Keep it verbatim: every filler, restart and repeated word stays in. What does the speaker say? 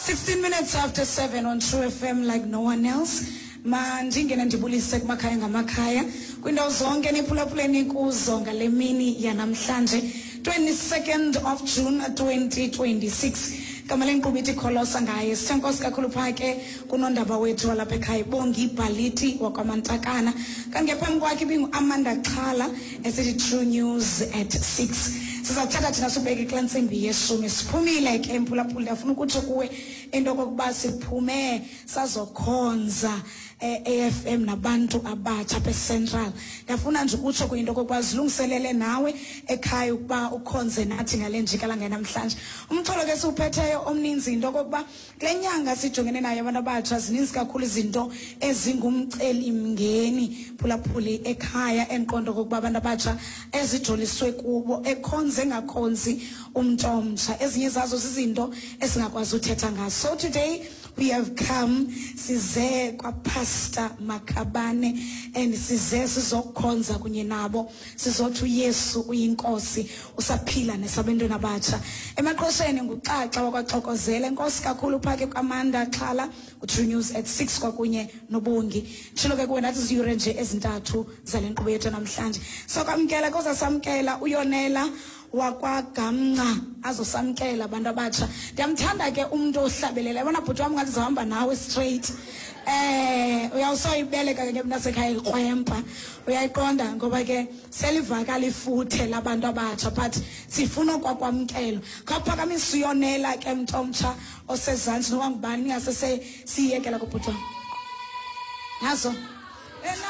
sixteen minutes after seven on True F M like no one else. Mandingene ndibulise kumakhaya ngamakhaya, kwiindawo zonke niphulaphuleni kuzo ngale mini yanamhlanje, twenty-second of June twenty twenty-six. Gama lenkqubo ithi Kholosa Ngaye. Sithe nkosi kakhulu phaa ke kunondaba wethu walapha ekhaya, Bongi Bhaliti wakwaMantakana. Kanti phambi kwakhe ibingu-Amanda Xhala esithi True News at six. Sizawuthatha thina sibeke kulaa ntsimbi yeshumi. Siphumile ke, mphulaphuli. Ndiyafuna ukutsho kuwe into okokuba siphume sazokhonza e-A F M nabantu abatsha apha eCentral. Ndiyafuna nje ukutsho kuyinto okokuba zilungiselele nawe ekhaya ukuba ukhonze nathi ngale njikalanga namhlanje. Umxholo ke siwuphetheyo omninzi yinto okokuba kule nyanga sijongene nayo abantu abatsha, zininzi kakhulu izinto ezingumcelimngeni, phulaphuli ekhaya, endiqonda okokuba abantu abatsha ezijoliswe kubo, ekhonze engakhonzi umntu omtsha. Ezinye zazo zizinto esingakwazi uthetha ngazo. So today we have come, size kwaPastor Makhabane and size sizokhonza kunye nabo, sizothi uYesu uyinkosi, usaphila nesabantwana abatsha. Emaqosheni nguXaxa wakwaXokozela. Enkosi kakhulu phaa ke kwAmanda Xhala, uTrue News at six kwakunye noBongi. Tshilo ke kuwe, nathi ziyure nje ezintathu zale nkqubo yethu namhlanje. So kwamkela kozasamkela uYonela wakwaGamnca, azosamkela abantu abatsha. Ndiyamthanda ke umntu ohlabelela. Yabona bhuti wam, ngathi zawuhamba nawe straight. eh uyawusoyibeleka ke mntasekhaya ikrwempa, uyayiqonda, ngoba ke selivakala ifuthe labantu abatsha, but sifuna okwakwamkelwa. Khawuphakamisa uYonela ke, mntu omtsha osezantsi, noba ngubani, ingase siyiyekela kubhuti wam nazo.